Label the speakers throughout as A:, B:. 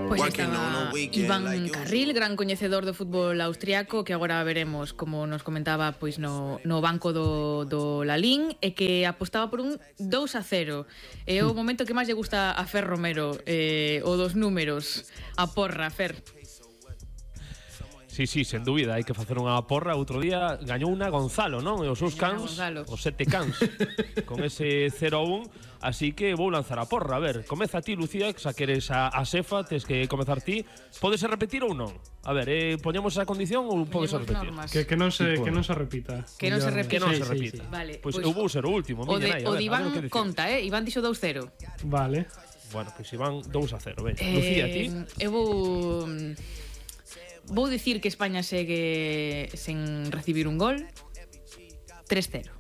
A: Pois estaba Iván Carril, gran coñecedor do fútbol austriaco, que agora veremos, como nos comentaba, pois no banco do Lalín, e que apostaba por un 2-0. É o momento que máis lle gusta a Fer Romero, o dos números, a porra, Fer.
B: Sí, sen dúbida, hai que facer unha porra. Outro día gañou unha Gonzalo, non? E os seus cans, os 7 cans, con ese 0-1. Así que vou lanzar a porra. A ver, comeza ti, Lucía, que xa queres a xefa, tes que comezar ti. Podes repetir ou non? A ver, poñemos esa condición ou podes repetir?
C: Que non se repita.
A: Que non se repita.
B: Sí.
A: Vale,
B: pois eu vou ser o último.
A: O de Iván conta, Iván dixo 2-0.
C: Vale.
B: Bueno, pois Iván 2-0. Lucía, ti?
A: Eu vou dicir que España segue sen recibir un gol. 3-0.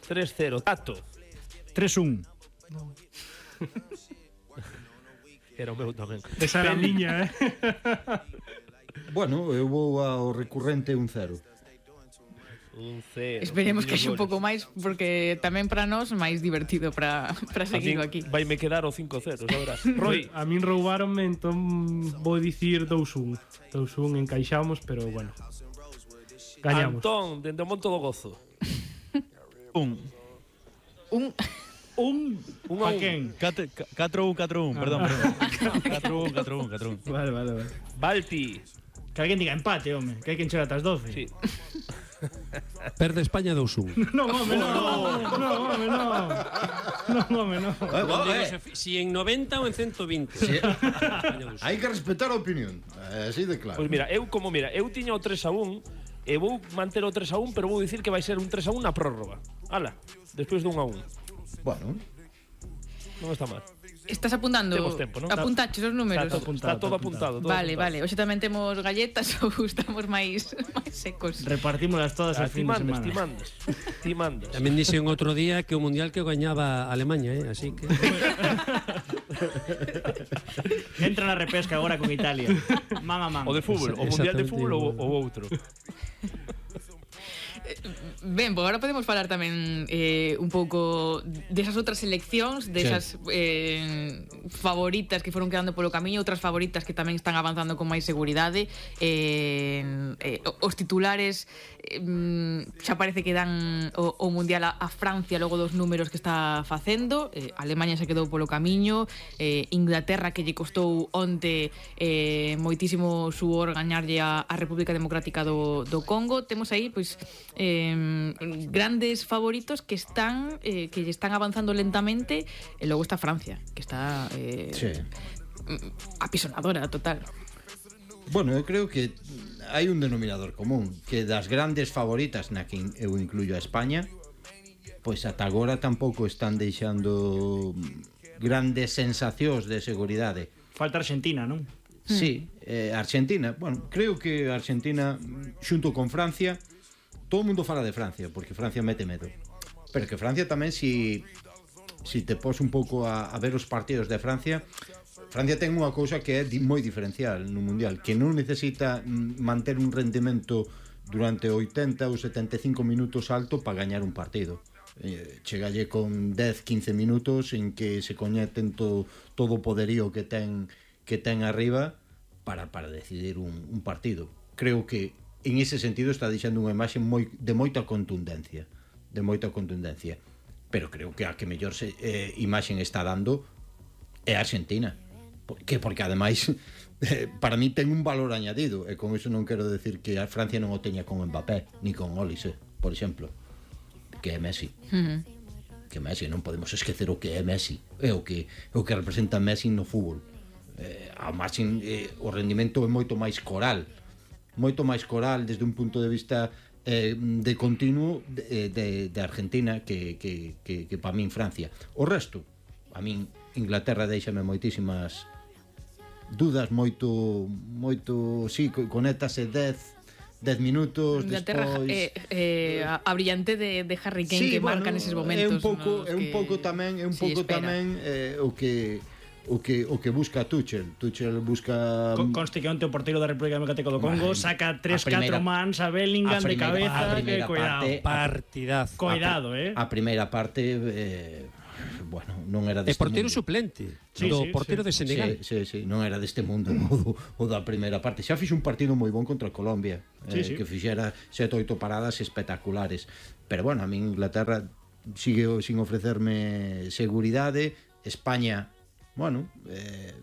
B: 3-0. Tato.
D: 3-1.
B: Era o meu tamén.
C: Esa era a miña,
E: Bueno, eu vou ao recurrente 1-0.
B: 1-0.
A: Esperemos que xe un pouco máis, porque tamén para nós máis divertido para seguir aquí.
B: Vai me quedar o 5-0, sabrás. Roy.
C: A min roubaronme, entón vou dicir 2-1. 2-1 encaixamos, pero bueno, gañamos.
B: Antón, dende o Monte do Gozo.
D: Pa quen? 4-1, perdón. 4-1.
C: Vale.
B: Balti.
D: Que alguén diga empate, home, que hai que encher ata as 12.
B: Sí.
F: Perde España 2-1.
C: Non, home, non.
G: Si en 90 ou en 120.
E: Sí. Hai que respetar a opinión. Así de claro.
B: Pois mira, eu tiña o 3-1 e vou manter o 3-1, pero vou dicir que vai ser un 3-1 na prórroga. Ala, despois de 1-1.
E: Bueno,
B: non está mal.
A: Estás apuntando?
B: Temos tempo, non?
A: Apuntaches os números?
B: Está todo apuntado.
A: Vale. Hoxe tamén temos galletas ou estamos máis secos?
D: Repartímolas todas al fin de semana.
B: Ti mandas.
F: Tamén dixen outro día que o Mundial que gañaba Alemanha, así que...
D: Entra na repesca agora con Italia. Man a man.
B: O de fútbol, o Mundial de fútbol ou outro.
A: Ben, pues agora podemos falar tamén un pouco desas outras seleccións, desas favoritas que foron quedando polo camiño, outras favoritas que tamén están avanzando con máis seguridade. Os titulares xa parece que dan o Mundial a Francia logo dos números que está facendo. Alemanha se quedou polo camiño, Inglaterra, que lle costou onte moitísimo suor gañarlle a República Democrática do Congo. Temos aí, pois, grandes favoritos que lle están avanzando lentamente, e logo está Francia, que está apisonadora total.
E: Bueno, eu creo que hai un denominador común, que das grandes favoritas, na que eu incluyo a España, pois ata agora tampouco están deixando grandes sensacións de seguridade.
D: Falta Argentina, non?
E: Sí, Argentina, bueno, creo que Argentina xunto con Francia, todo o mundo fala de Francia, porque Francia mete medo. Pero que Francia tamén, si te pos un pouco a ver os partidos de Francia ten unha cousa que é moi diferencial no Mundial, que non necesita manter un rendemento durante 80 ou 75 minutos alto para gañar un partido. Chegalle con 10-15 minutos en que se coñeten todo o poderío que ten arriba para decidir un partido. Creo que en ese sentido está deixando unha imaxe de moita contundencia, pero creo que a que mellor imaxe está dando é a Argentina, porque ademais para mí ten un valor añadido, e con iso non quero decir que a Francia non o teña con Mbappé ni con Olise, por exemplo, que é Messi. Que Messi, non podemos esquecer o que é Messi, é o que representa Messi no fútbol. A marxen, o rendimento é moito máis coral desde un punto de vista de continuo de Argentina que para min Francia. O resto, a min Inglaterra deixame moitísimas dudas, moito si, conéctase 10 minutos
A: Inglaterra,
E: despois
A: a brillante de Harry Kane, sí, que marca neses momentos.
E: É un pouco tamén o que busca Tuchel busca...
D: Conste que onte o porteiro da República Democrática do Congo saca 3-4 mans a Bellingham de cabeza, que cuidado.
F: Partidazo.
D: Cuidado,
E: A primeira parte bueno, non era deste
F: portero
E: mundo.
F: suplente do portero de Senegal.
E: Sí, non era deste mundo o da primeira parte. Xa fixo un partido moi bon contra Colombia, que fixera 7-8 paradas espectaculares. Pero bueno, a mí Inglaterra sigue sin ofrecerme seguridade. España, bueno,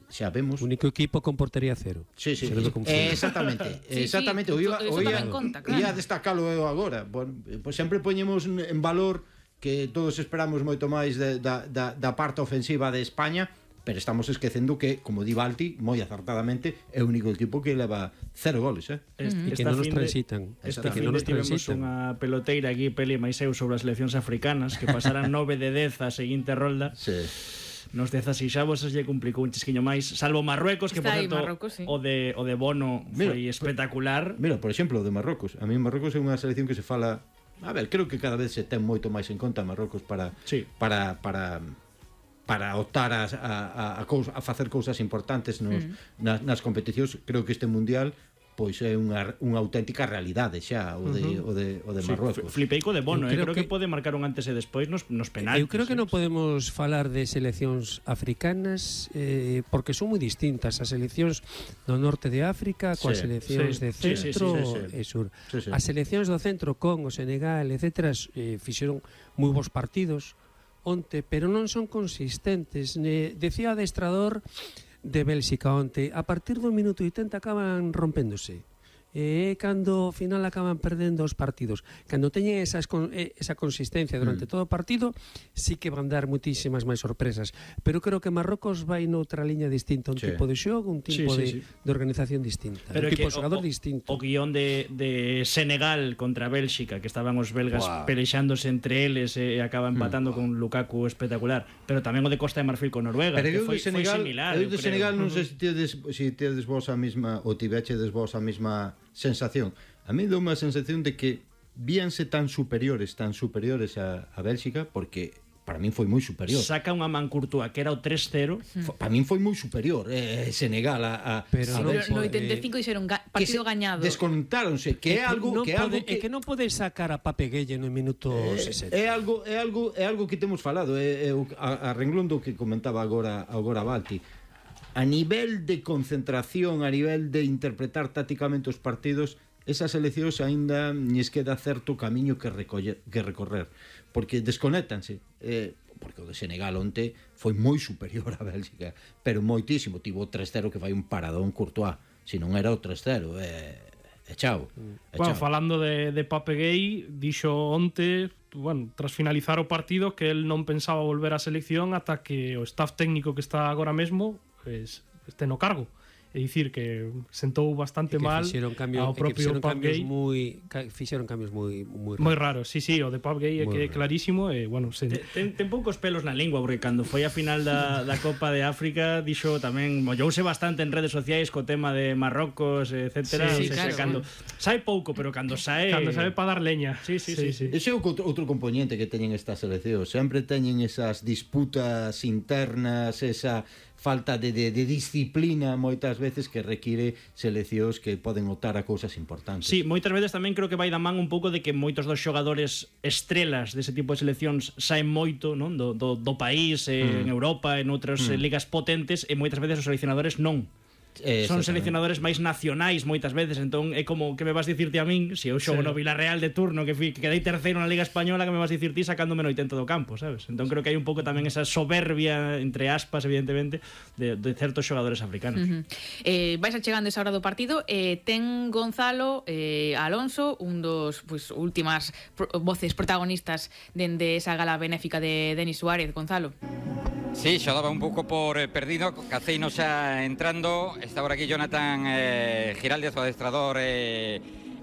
E: xa vemos.
F: Único equipo con portería cero.
E: Sí. Exactamente. O ia destacalo eu agora. Bueno, pues sempre poñemos en valor que todos esperamos moito máis da parte ofensiva de España, pero estamos esquecendo que, como di Balti, moi acertadamente, é o único equipo que leva 0 goles,
F: E que non nos transitan.
D: Esta fin de tivemos unha peloteira aquí, Peli e Maiseu, sobre as seleccións africanas, que pasaran 9 de 10 a seguinte rolda.
E: Sí.
D: Nos 16avos lle complicou un chisquiño máis, salvo Marruecos, que por certo o de Bono foi espectacular.
E: Mira, por exemplo, o de Marrocos. A mí Marrocos é unha selección que se fala, a ver, creo que cada vez se ten moito máis en conta Marrocos para optar a facer cousas importantes nas competicións. Creo que este mundial pois é unha auténtica realidade xa o de Marruecos.
D: Flipeico de Bono, creo que pode marcar un antes e despois nos penaltis.
F: Eu creo que non podemos falar de seleccións africanas porque son moi distintas as seleccións do norte de África coas seleccións de centro e sur. As seleccións do centro, Congo, Senegal, etc., fixeron moi bons partidos onte, pero non son consistentes. Decía o adestrador de Bélxica onte, a partir do minuto 80 acaban rompéndose. Cando ao final acaban perdendo os partidos. Cando teñen esa consistencia durante todo o partido, sí que van dar muitísimas máis sorpresas. Pero creo que Marrocos vai noutra liña distinta, un tipo de xogo, un tipo de organización distinta,
D: pero
F: un tipo de xogador distinto.
D: O guión de Senegal contra Bélxica, que estaban os belgas pelexándose entre eles e acaba empatando con Lukaku espectacular. Pero tamén o de Costa de Marfil con Noruega, que foi similar.
E: Eu de Senegal non sei se tedes vos a mesma, ou tivechedes vos a mesma sensación. A mí dou unha sensación de que víanse tan superiores a Bélxica, porque para min foi moi superior.
D: Saca unha man Courtois que era o 3-0.
E: Para min foi moi superior Senegal a
A: Bélxica. No 85 dixeron partido gañado.
E: Descontáronse, que é algo que
F: non podes sacar a Pape Gueye no minuto 60.
E: É algo que temos falado, a renglón do que comentaba agora Balti. A nivel de concentración, a nivel de interpretar tácticamente os partidos, esas seleccións aínda lles queda certo camiño que recorrer, porque desconéctanse, porque o de Senegal onte foi moi superior a Bélxica, pero moitísimo, tivo 3-0 que fai un paradón Courtois, se non era o 3-0, chao.
C: Bueno, falando de Pape Gueye, dixo onte, tras finalizar o partido, que el non pensaba volver á selección ata que o staff técnico que está agora mesmo este no cargo. É dicir, que sentou bastante mal ao propio Pape Gueye.
F: Fixeron cambios moi
C: raros. Sí, o de Pape Gueye é clarísimo.
D: Ten poucos pelos na lingua, porque cando foi a final da Copa de África dixo tamén, mollouse bastante en redes sociais co tema de Marrocos, etc. Cando sae pouco, pero cando sae
C: para dar leña.
D: Sí.
E: Ese é outro componente que teñen estas seleccións. Sempre teñen esas disputas internas, esa falta de disciplina moitas veces que require seleccións que poden optar a cousas importantes.
D: Sí, moitas veces tamén creo que vai da man un pouco de que moitos dos xogadores estrelas dese tipo de seleccións saen moito, non, do país, en Europa, en outras ligas potentes, e moitas veces os seleccionadores non. Son seleccionadores máis nacionais moitas veces, entón é como que me vas dicirte a min, se eu xogo no Villarreal de turno que quedei terceiro na Liga Española, que me vas dicir ti sacándome no 80 do campo, sabes? Entón creo que hai un pouco tamén esa soberbia, entre aspas, evidentemente, de certos xogadores africanos.
A: Vais achegando esa hora do partido, ten Gonzalo Alonso, un dos últimas voces protagonistas dende esa gala benéfica de Denis Suárez. Gonzalo.
H: Sí, xa daba un pouco por perdido, Caceino xa entrando, está por aquí Jonathan Giraldez, o adestrador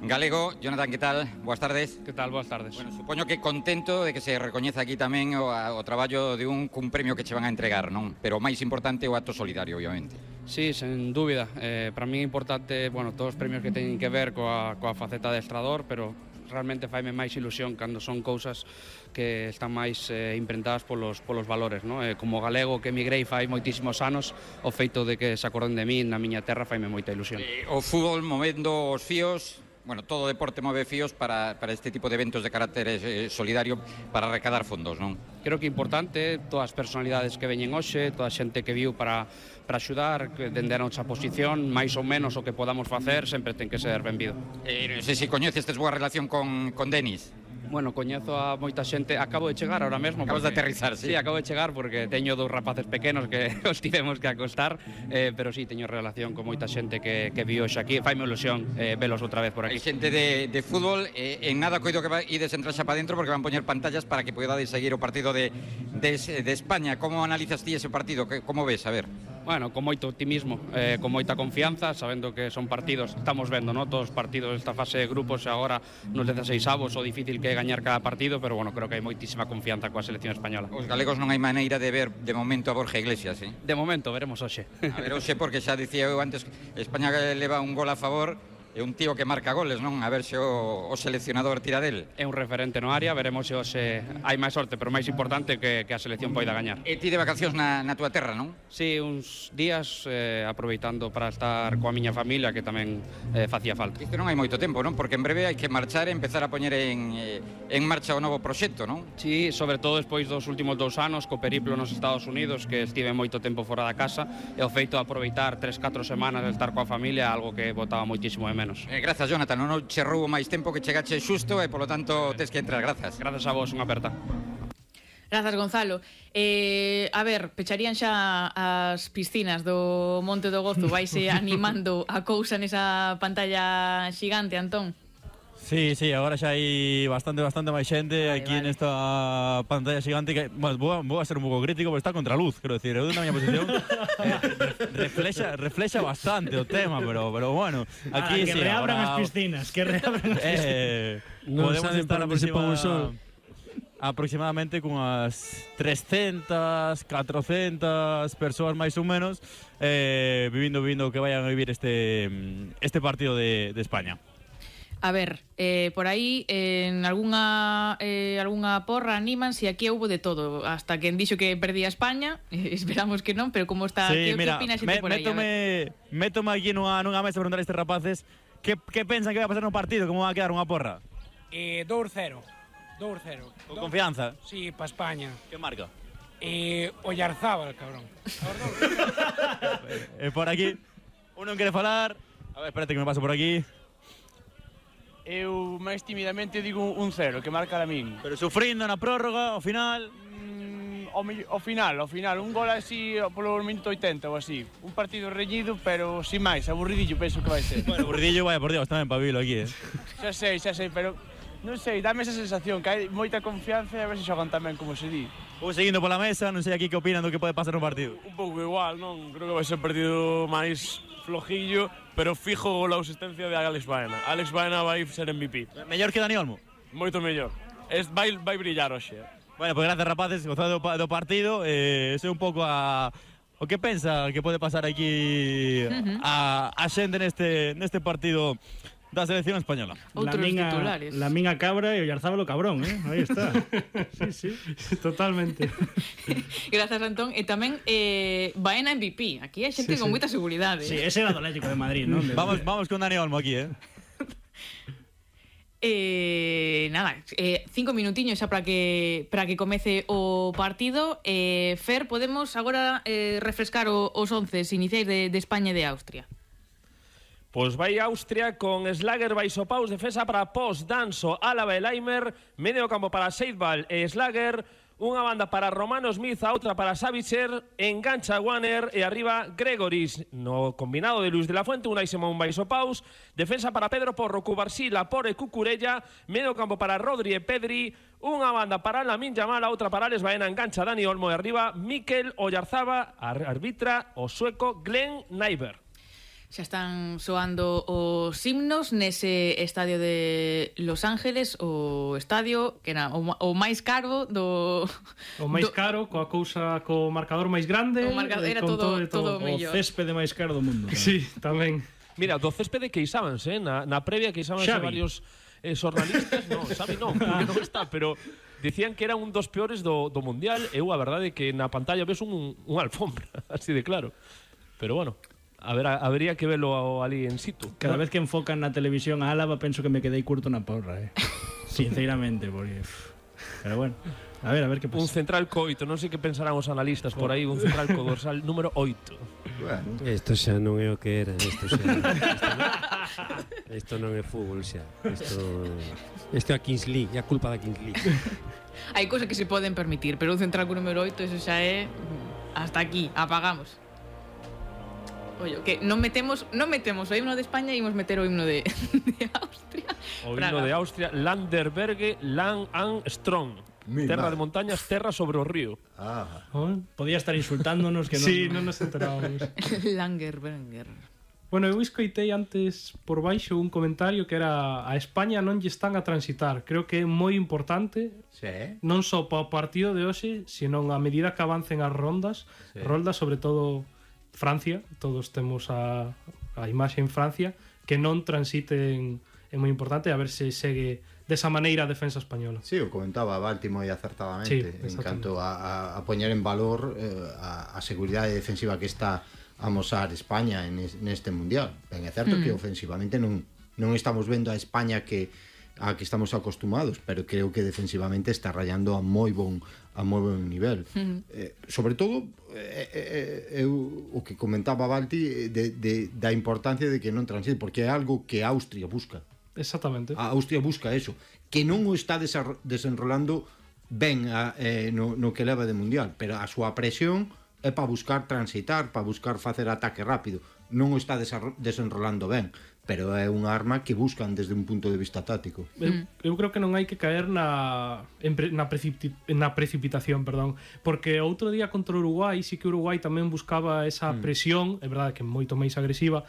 H: galego. Jonathan, que tal? Boas tardes.
I: Que tal? Boas tardes.
H: Bueno, supoño que contento de que se recoñeza aquí tamén o traballo de un premio que che van a entregar, non? Pero o máis importante é o acto solidario, obviamente.
I: Sí, sen dúbida. Para mí é importante, todos os premios que teñen que ver coa faceta de adestrador, pero realmente faime máis ilusión cando son cousas que están máis imprentadas polos valores, non? Como galego que emigrei fai moitísimos anos, o feito de que se acorden de min na miña terra faime moita ilusión.
H: O fútbol movendo os fíos, bueno, todo deporte move fíos para este tipo de eventos de carácter solidario para recaudar fondos, non?
I: Creo que é importante todas as personalidades que veñen hoxe, toda a xente que viu para axudar, que dende a nosa posición, máis ou menos o que podamos facer, sempre ten que ser benvido.
H: Non sei se coñeces, tes boa relación con Denis.
I: Bueno, coñezo a moita xente, acabo de chegar ahora mesmo.
H: Acabas de aterrizar, sí.
I: Sí, acabo de chegar porque teño 2 rapaces pequenos que os tivemos que acostar, pero sí, teño relación con moita xente que viu hoxe aquí, faime ilusión velos outra vez por aquí.
H: Hai xente de fútbol, en nada coido que ides entrar xa para dentro porque van poñer pantallas para que podades seguir o partido de España. Como analizas ti ese partido? Como ves? A ver.
I: Bueno, con moito optimismo, con moita confianza, sabendo que son partidos, estamos vendo, ¿no? Todos os partidos desta fase de grupos agora nos 16avos, o difícil que é gañar cada partido, pero bueno, creo que hai moitísima confianza coa selección española.
H: Os galegos non hai maneira de ver de momento a Borja Iglesias, eh?
I: De momento, veremos hoxe.
H: A ver, hoxe, porque xa dicía eu antes, España leva un gol a favor, é un tío que marca goles, non? A ver se o seleccionador tira del.
I: É un referente no área, veremos se hoxe hai máis sorte, pero máis importante que a selección poida gañar.
H: E ti de vacacións na túa terra, non?
I: Sí, uns días aproveitando para estar coa miña familia, que tamén facía falta.
H: Isto non hai moito tempo, non? Porque en breve hai que marchar e empezar a poñer en marcha o novo proxecto, non?
I: Sí, sobre todo despois dos últimos 2 anos, co periplo nos Estados Unidos, que estive moito tempo fora da casa, e o feito de aproveitar 3-4 semanas de estar coa familia, algo que botaba moitísimo de menos.
H: Grazas, Jonathan, non che roubo máis tempo, que chegache xusto e polo tanto tes que entrar. Grazas.
I: Grazas a vos, unha aperta.
A: Grazas, Gonzalo. A ver, pecharían xa as piscinas do Monte do Gozo. Vaise animando a cousa nesa pantalla xigante, Antón?
J: Sí, agora xa hai bastante máis xente aquí nesta pantalla xigante que, bueno, vou a ser un pouco crítico porque está contra a luz, quero decir, eu na miña posición reflexa bastante o tema, pero bueno, aquí
D: que reabran as piscinas, que reabran as piscinas.
J: Podemos estar aproximadamente con as 300, 400 persoas máis ou menos vivindo que vayan a vivir este partido de España.
A: A ver, por aí en algunha porra animan si aquí houbo de todo, hasta quen dixo que perdía España, esperamos que non, pero como está,
J: sí,
A: que opina xente por aí?
J: Métome aquí nunha mesa a preguntar a estes rapaces que pensan que vai a pasar no partido, como vai a quedar unha porra?
K: 2-0.
J: Con confianza?
K: Sí, pa España.
J: Que marca?
K: Oyarzábal, cabrón.
J: Por aquí, uno quere falar. A ver, espérate que me paso por aquí.
L: Eu máis timidamente digo 1-0, que marca Lamín.
J: Pero sufrindo na prórroga, ao final...
L: Ao final, un gol así polo minuto 80 ou así. Un partido reñido, pero sin máis, aburridillo penso que vai ser.
J: Bueno, aburridillo, vaya por Dios, tamén Pabilo aquí,
L: Xa sei, pero non sei, dame esa sensación que hai moita confianza e a ver se xogan tamén como se di.
J: Vou seguindo pola mesa, non sei aquí que opinan do que pode pasar no partido.
L: Un pouco igual, non? Creo que vai ser un partido máis flojillo, pero fijo la asistencia de Alex Baena. Alex Baena vai ser MVP.
J: Mellor que Dani Olmo?
L: Moito mellor. Vai brillar hoxe.
J: Bueno, pues gracias, rapaces, gozado do partido. Sei un pouco o que pensa que pode pasar aquí a xente neste partido da selección española.
A: Outros titulares.
D: La minha cabra e o Oyarzábal cabrón, aí está. Sí,
C: totalmente.
A: Grazas, Antón. E tamén Baena MVP. Aquí hai xente con moita seguridade.
D: Sí, ese era do Atlético de Madrid, non?
J: Vamos con Dani Olmo aquí,
A: Nada, 5 minutiños xa para que comece o partido. Fer, podemos agora refrescar os 11 iniciais de España e de Austria.
B: Pois vai Austria con Slager, Baisopaus, defensa para Post, Danso, Álava e Laimer, medio campo para Seidval e Slager, unha banda para Romano Smith, a outra para Savicer, engancha Wanner e arriba Gregoris. No combinado de Luis de la Fuente, Unai Simón, Baisopaus, defensa para Pedro Porro, Cubarsí, Lapore e Cucurella, medio campo para Rodri e Pedri, unha banda para Lamín Yamal, a outra para Alex Baena, engancha Dani Olmo e arriba Mikel Oyarzábal, arbitra o sueco Glenn Nyberg.
A: Xa están soando os himnos nese estadio de Los Ángeles, o estadio que era o máis caro do...
C: O máis caro, coa cousa, co marcador máis grande.
A: O marcador era todo mellor.
D: O céspede máis caro do mundo.
C: Sí, tamén.
B: Mira, do céspede queixábanse, na previa queixábanse varios xornalistas. Non, Xavi non, porque non está, pero... Dicían que era un dos peores do Mundial. Eu, a verdade, que na pantalla ves un alfombra, así de claro. Pero bueno... Habría que verlo ali en situ.
D: Cada vez que enfocan na televisión a Álava penso que me quedei curto na porra, sinceramente, porque... Pero bueno, a ver que pasa.
B: Un central co 8, non sei que pensarán os analistas por aí, un central co dorsal número 8.
F: Bueno, isto xa non é o que era, isto non é fútbol xa. Isto é a Kings League, é a culpa da Kings League.
A: Hai cousas que se poden permitir, pero un central co número 8, eso xa é hasta aquí, apagamos. Oye, que non metemos o himno de España e imos meter o himno de Austria.
B: O himno de Austria, Landerberge, Lang an Strong. Terra de montañas, terra sobre o río.
D: Podía estar insultándonos que
C: non nos enterábamos.
A: Landerberger.
C: Bueno, eu escoitei antes por baixo un comentario que era a España non lle están a transitar. Creo que é moi importante, non só para o partido de hoxe, senón a medida que avancen as rondas, sobre todo Francia, todos temos a imaxe en Francia, que non transiten, é moi importante, a ver se segue desa maneira a defensa española.
E: Sí, o comentaba Balti moi acertadamente, en canto a poñer en valor a seguridade defensiva que está a amosar España neste mundial. Ben, é certo que ofensivamente non estamos vendo a España a que estamos acostumados, pero creo que defensivamente está rayando a moi bon nivel. Sobre todo o que comentaba Balti da importancia de que non transite, porque é algo que Austria busca.
C: Exactamente.
E: A Austria busca eso, que non o está desenrolando ben no que leva de mundial, pero a súa presión é para buscar transitar, para buscar facer ataque rápido. Non o está desenrolando ben, pero é unha arma que buscan desde un punto de vista táctico.
C: Eu creo que non hai que caer na precipitación, porque outro día contra Uruguai, sí que Uruguai tamén buscaba esa presión, é verdade que moito máis agresiva,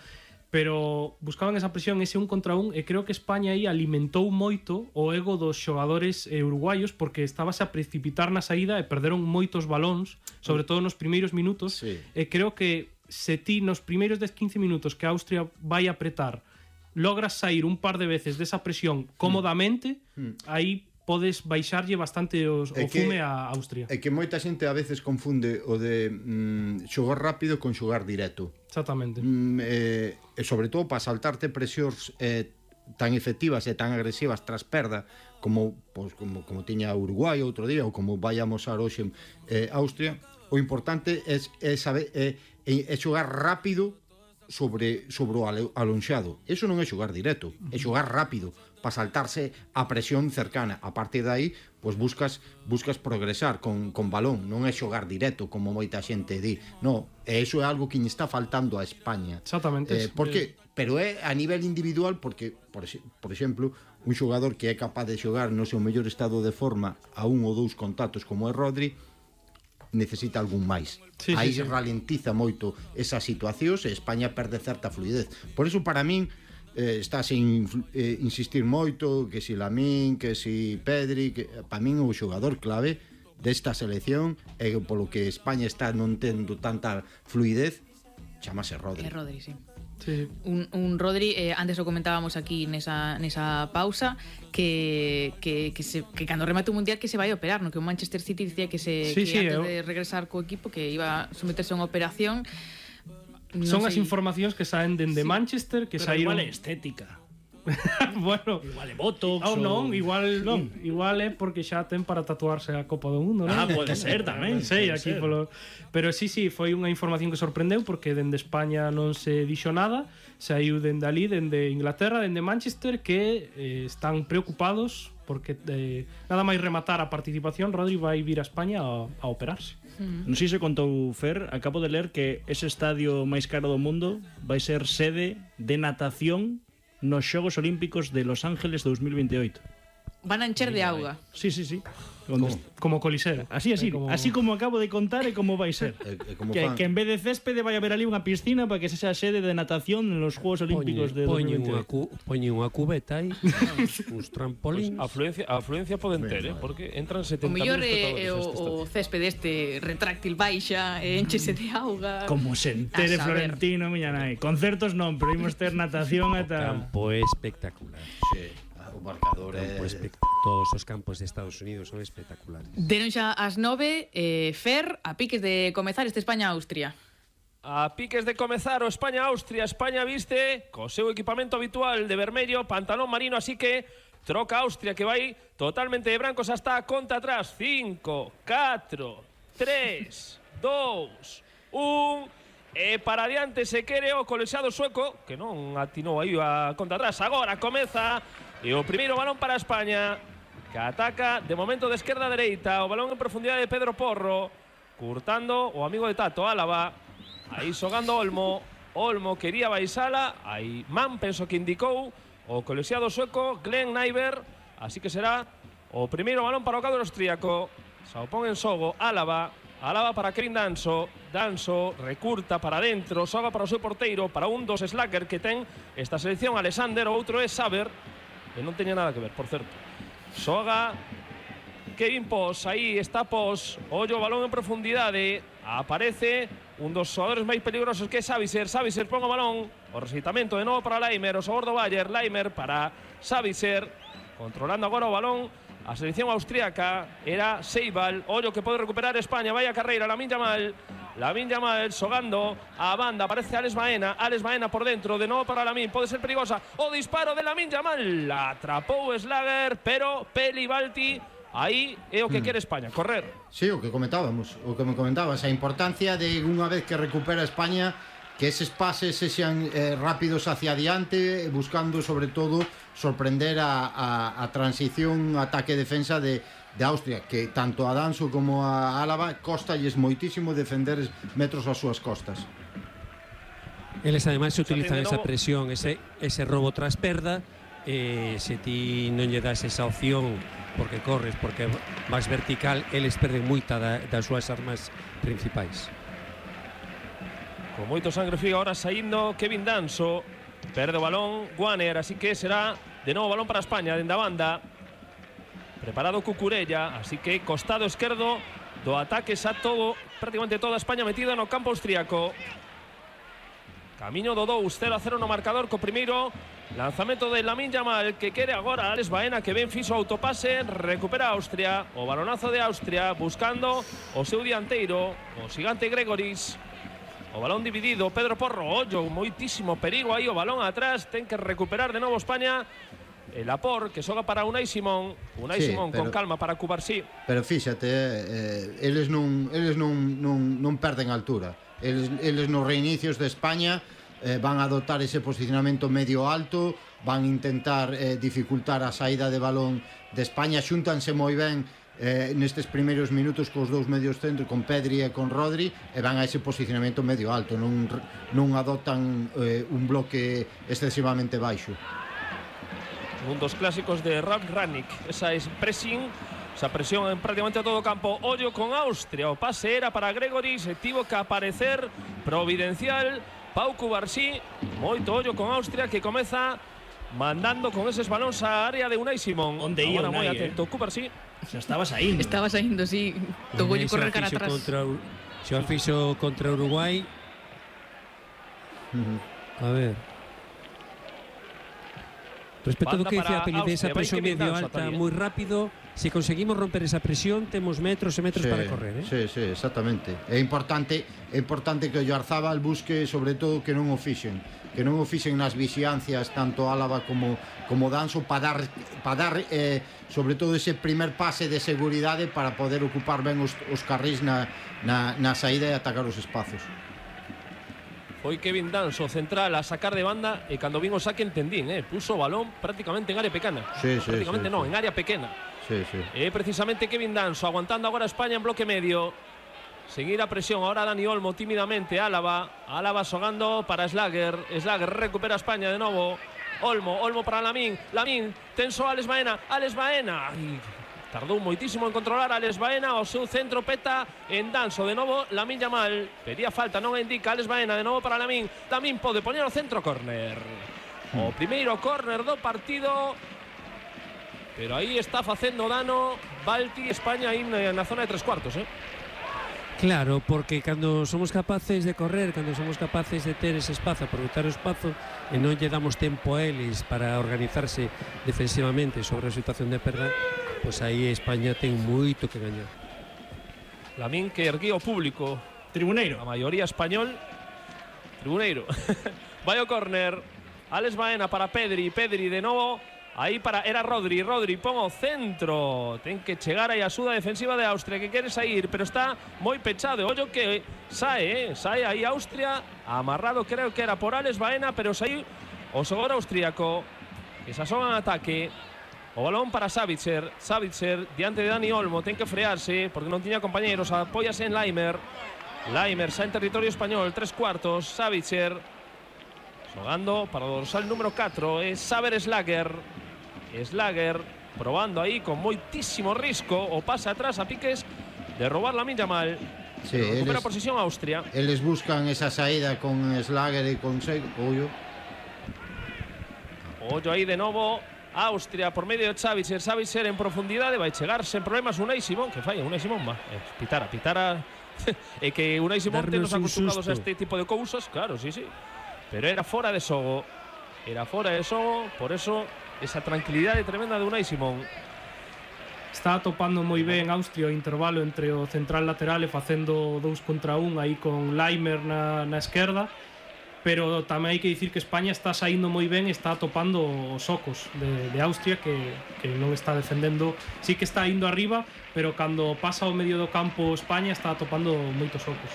C: pero buscaban esa presión, ese 1 contra 1, e creo que España aí alimentou moito o ego dos xogadores uruguaios, porque estábase a precipitar na saída e perderon moitos balóns, sobre todo nos primeiros minutos, e creo que se ti nos primeiros 10-15 minutos que Austria vai apretar logras sair un par de veces desa presión cómodamente, aí podes baixarlle bastante o fume a Austria.
E: É que moita xente a veces confunde o de xogar rápido con xogar directo.
C: Exactamente.
E: E sobre todo para saltarte presións tan efectivas e tan agresivas tras perda como tiña Uruguai outro día, ou como vai a amosar hoxe Austria, o importante é xogar rápido sobre o alonxado. Eso non é xogar directo, é xogar rápido para saltarse a presión cercana. A partir de aí, pois buscas progresar con balón, non é xogar directo como moita xente di. No, eso é algo que lle está faltando a España.
C: Exactamente.
E: Pero é a nivel individual, porque por exemplo, un xogador que é capaz de xogar no seu mellor estado de forma a 1 ou 2 contactos como é Rodri, necesita algún máis. Aí ralentiza moito esas situacións e España perde certa fluidez. Por eso, para min, está sin insistir moito que si Lamín, que si Pedri, que para min o xogador clave desta selección e polo que España está non tendo tanta fluidez, chamase Rodri.
A: É Rodri, sí. Un Rodri, antes o comentábamos aquí nesa pausa, que cando remate o mundial que se vai a operar, no que o Manchester City dicía que antes de regresar co equipo que iba a someterse a unha operación.
C: Son as informacións que saen dende Manchester, que saíron...
D: Pero igual é estética.
C: Bueno,
D: igual é botox
C: igual é porque xa ten para tatuarse a Copa do Mundo, non?
D: Pode ser tamén.
C: Pero sí, foi unha información que sorprendeu, porque dende España non se dixo nada, saiu dende ali, dende Inglaterra, dende Manchester, que están preocupados porque nada máis rematar a participación, Rodri vai vir a España a operarse.
D: Non sei se contou Fer, acabo de ler que ese estadio máis caro do mundo vai ser sede de natación nos Xogos Olímpicos de Los Ángeles 2028.
A: Van a encher de auga.
D: Sí.
C: Como Coliseo.
D: Así como acabo de contar e como vai ser. Que en vez de céspede vai haber ali unha piscina para que se sea sede de natación en los Juegos Olímpicos de 2028.
F: Poñe unha cubeta aí, uns trampolíns.
B: Afluencia poden ter, porque entran 70.000
A: espectadores. O mellor
B: o
A: céspede retráctil baixa, enchese de auga.
D: Como se entere Florentino, miña nai. Concertos non, pero imos ter natación ata...
F: Campo espectacular.
E: Sí. O marcador
F: todos os campos de Estados Unidos son espectaculares.
A: Deron xa as 9, Fer, a piques de comezar este España-Austria.
B: A piques de comezar o España-Austria. España viste co seu equipamento habitual de vermello, pantalón marino, así que troca Austria, que vai totalmente de brancos hasta a conta atrás. 5, 4, 3, 2, 1... E para adiante se quere o colexiado sueco, que non atinou aí a conta atrás. Agora comeza e o primeiro balón para España, que ataca de momento de esquerda a dereita. O balón en profundidade de Pedro Porro, curtando o amigo de Tato, Álava. Aí xogando Olmo. Olmo quería baixala. Aí Man penso que indicou o colexiado sueco Glenn Nyberg. Así que será o primeiro balón para o cadro austríaco. Se o pon en xogo Álava. Álava para Kevin Danso. Danso recurta para dentro, xoga para o seu porteiro, para un dos slacker que ten esta selección, Alexander, o outro é Saber, e non teña nada que ver, por certo. Xoga Kevin Pos, aí está Pos, ollo o balón en profundidade, aparece un dos xogadores máis peligrosos que é Savicer. Savicer pon o balón, o recitamento de novo para Laimer, o xogador do Bayer, Laimer para Savicer, controlando agora o balón. A selección austríaca era Seibal. Ollo que pode recuperar España. Vaya carreira, Lamine Yamal xogando a banda, aparece Alex Baena. Alex Baena por dentro, de novo para Lamine. Pode ser perigosa o disparo de Lamine Yamal. Atrapou Slager, pero Peli Balti. Aí é o que quere España, correr.
E: Sí, o que comentábamos, o que me comentabas, a importancia de unha vez que recupera España, que eses pases sexan rápidos hacia adiante, buscando sobre todo sorprender a transición ataque-defensa de Austria, que tanto a Danso como a Álava costalles moitísimo defender metros ás súas costas.
F: Eles ademais utilizan esa presión, ese robo tras perda, se ti non lle das esa opción porque corres, porque vas vertical, eles perden moita das súas armas principais.
B: Con moito sangre fría ahora saindo Kevin Danso. Perde o balón Guaner, así que será de novo balón para España, dende a banda. Preparado Cucurella, así que costado esquerdo do ataque xa todo, prácticamente toda España metida no campo austríaco. Camiño do 2-0-0 no marcador co primeiro lanzamento de Lamine Yamal, que quere agora Alex Baena, que ben fixo autopase, recupera Austria, o balonazo de Austria, buscando o seu dianteiro, o xigante Gregoris. O balón dividido, Pedro Porro, ollo, moitísimo perigo aí, o balón atrás, ten que recuperar de novo España. El Apor, que xoga para Unai Simón. Unai Simón con calma para Cubarsí.
E: Pero fíxate, eles non perden altura. Eles nos reinicios de España van a adoptar ese posicionamento medio alto, van a intentar dificultar a saída de balón de España, xúntanse moi ben nestes primeiros minutos cos dous medios centros, con Pedri e con Rodri, e van a ese posicionamento medio alto, non adoptan un bloque excesivamente baixo.
B: Un dos clásicos de Ralf Rangnick, esa es pressing, esa presión en prácticamente todo o campo. Ollo con Austria, o pase era para Gregoris, e tivo que aparecer providencial Pau Cubarsí. Moito ollo con Austria, que comeza mandando con eses balóns á área de Unai Simón.
D: Onde ia
B: Unai, moi atento, Cubarsí.
D: Xa estaba saindo.
A: Estaba saindo, sí. Togolle correr cara atrás.
F: Xa fixo contra Uruguai. A ver. Respecto do que dice a Peli de esa presión medio alta moi rápido, se conseguimos romper esa presión, temos metros e metros para correr,
E: Sí, exactamente. É importante que o Oyarzábal busque sobre todo que non o fixen nas vixiancias tanto Álava como Danso para dar sobre todo ese primer pase de seguridade para poder ocupar ben os carrís na saída e atacar os espazos.
B: Foi Kevin Danso central a sacar de banda, e cando vin o saque entendín, puso o balón prácticamente en área pequena. Prácticamente non, en área pequena. Precisamente Kevin Danso aguantando agora a España en bloque medio. Seguir a presión ahora Dani Olmo tímidamente. Álava xogando para Slager. Slager recupera a España de novo. Olmo para Lamine, tenso Alex Baena. Tardou moitísimo en controlar a Alex Baena, o seu centro peta en Danso, de novo Lamine Yamal, pedía falta, non indica Alex Baena, de novo para Lamine pode poñer o centro córner. O primeiro córner do partido, pero aí está facendo dano Balti, España aí na zona de 3/4,
F: Claro, porque cando somos capaces de correr, cando somos capaces de ter ese espazo, aproveitar o espazo, e non lle damos tempo a eles para organizarse defensivamente sobre a situación de perda, pois aí España ten moito que gañar.
B: Lamine que erguía o público,
D: tribuneiro,
B: a maioría español, Tribuneiro. Vai o córner. Alex Baena para Pedri. Pedri de novo. Aí era Rodri. Rodri pon o centro. Ten que chegar aí a axuda defensiva de Austria, que quere sair, pero está moi pechado. Ollo que sae aí Austria. Amarrado creo que era por Alex Baena, pero saí o xogador austríaco. Que se asoman ataque. O balón para Savitzer. Savitzer diante de Dani Olmo. Ten que frearse porque non tiña compañeros. Apóyase en Laimer. Laimer xa en territorio español. 3/4. Savitzer xogando para o dorsal número 4. É Saber Slager. Slager probando aí con moitísimo risco. O pasa atrás a piques de robar Lamine Yamal.
E: Sí,
B: recupera posición Austria.
E: Eles buscan esa saída con Slager e con Ollo.
B: Ollo aí de novo. Austria por medio de Savitzer. Savitzer en profundidade. Vai chegar sen problemas Unai Simón. Que falla Unai Simón, va. Pitara. É que Unai Simón ten nos acostumbrados a este tipo de cousas. Claro, sí. Pero era fora de xogo. Por eso esa tranquilidade tremenda de Unai Simón.
C: Está atopando moi ben Austria o intervalo entre o central lateral e facendo 2 contra 1 aí con Laimer na esquerda. Pero tamén hai que dicir que España está saindo moi ben e está atopando os ocos de Austria que non está defendendo. Sí que está indo arriba, pero cando pasa ao medio do campo España está atopando moitos ocos.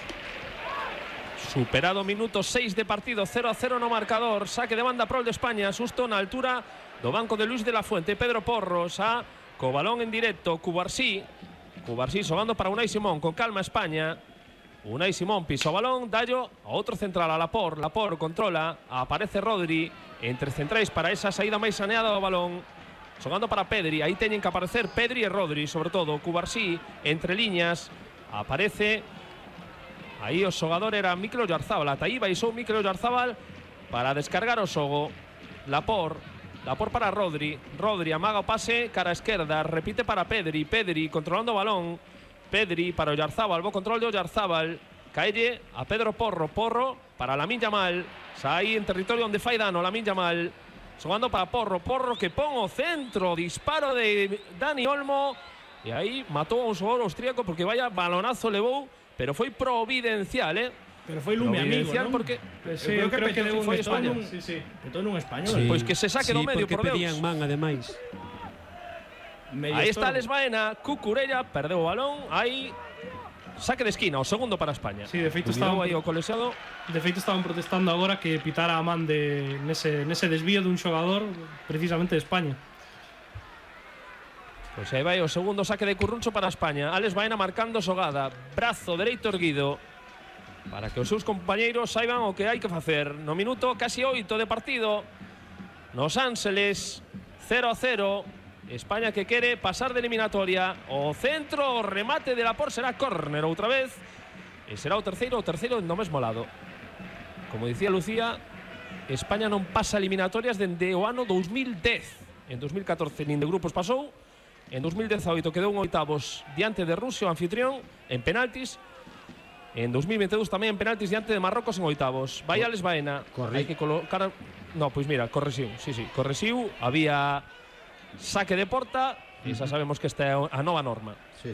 B: Superado minuto 6 de partido, 0-0 no marcador. Saque de banda prol de España, susto na altura do banco de Luis de la Fuente. Pedro Porros co balón en directo. Cubarsí xogando para Unai Simón. Con calma España. Unai Simón pisa o balón, dallo a outro central, a Laporte. Laporte controla, aparece Rodri entre centrais para esa saída máis saneada do balón. Xogando para Pedri, aí teñen que aparecer Pedri e Rodri, sobre todo. Cubarsí entre liñas, aparece aí o xogador era Mikel Oyarzabal. Ata aí baixou Mikel Oyarzabal para descargar o xogo. Laporte para Rodri. Rodri amaga o pase cara a esquerda, repite para Pedri. Pedri controlando o balón. Pedri para Oyarzabal, bo control de Oyarzabal. Caelle a Pedro Porro. Porro para Lamine Yamal. Xa aí en territorio onde fai dano Lamine Yamal. Xogando para Porro. Porro que pon o centro. Disparo de Dani Olmo. E aí matou a un xogador austríaco porque vaya balonazo levou, pero foi providencial,
D: Pero foi Lume amigo, non?
B: Porque
C: creo que
B: foi España.
D: Sí. Petou nun español.
B: Sí. Pois que se saque do medio, por Deus.
F: Porque pedían man, ademais.
B: Aí está Alex Baena, Cucurella, perdeu o balón, aí saque de esquina, o segundo para España.
C: Sí, de feito estaban
B: aí o colexiado.
C: De feito estaban protestando agora que pitara a man nese desvío dun xogador precisamente de España.
B: Pois aí vai o segundo saque de Curruncho para España. Alex Baena marcando xogada, brazo dereito erguido para que os seus compañeiros saiban o que hai que facer. No minuto casi 8 de partido, nos Ángeles, 0-0. España que quere pasar de eliminatoria. O centro, o remate de Laporte será córner outra vez. E será o terceiro no mesmo lado. Como dicía Lucía, España non pasa eliminatorias dende o ano 2010. En 2014 nin de grupos pasou. En 2018 quedou en oitavos diante de Rusia, o anfitrión, en penaltis. En 2022 tamén en penaltis diante de Marrocos en oitavos. Vai Alex Baena. Hai que colocar... No, pois mira, corresiu. Sí, corresiu. Había saque de porta e xa sabemos que esta é a nova norma.
E: Sí.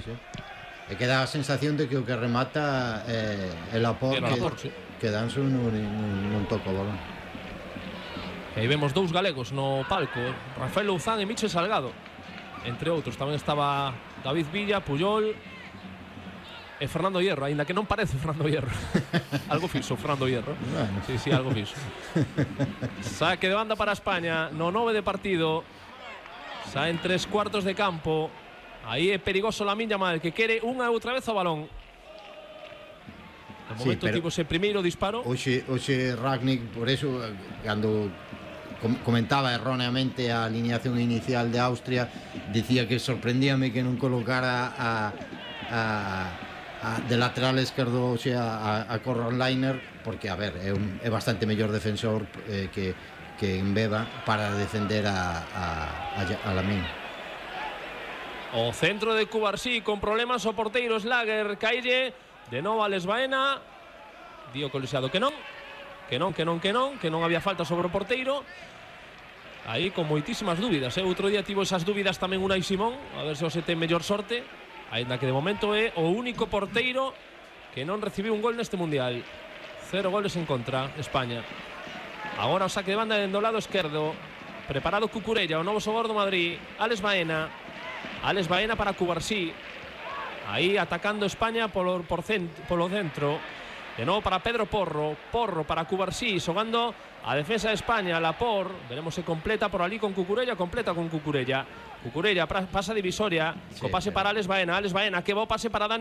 E: E que dá a sensación de que o que remata é Laporte, que Danso non toca o balón.
B: E aí vemos dous galegos no palco, Rafael Louzán e Michel Salgado. Entre outros, tamén estaba David Villa, Puyol e Fernando Hierro, aínda que non parece Fernando Hierro. Algo fixo Fernando Hierro. Bueno. Sí, algo fixo. Saque de banda para España, no 9 de partido. Xa en 3/4 de campo. Aí é perigoso Lamine Yamal, que quere unha e outra vez o balón. De momento tivo ese primeiro disparo.
E: Oxe Ragnick, por eso, cando comentaba erróneamente a alineación inicial de Austria, dicía que sorprendíame que non colocara de lateral esquerdo, a Conrad Laimer, porque, a ver, é bastante mellor defensor que Mbeba para defender a Lamine.
B: O centro de Cubarsí con problemas o porteiro Slager. Caille de novo Alex Baena. Dio colexiado que non había falta sobre o porteiro. Aí con moitísimas dúbidas. Outro día tivo esas dúbidas tamén Unai Simón, a ver se os ten mellor sorte, aínda que de momento é o único porteiro que non recibiu un gol neste mundial. 0 goles en contra, España. Agora o saque de banda do lado esquerdo. Preparado Cucurella, o novo xogador do Madrid. Alex Baena para Cubarsí. Aí atacando España polo centro. De novo para Pedro Porro para Cubarsí, xogando a defensa de España. Laporte, veremos se completa por ali con Cucurella. Cucurella pasa divisoria, co pase para Alex Baena, que bo pase para Dani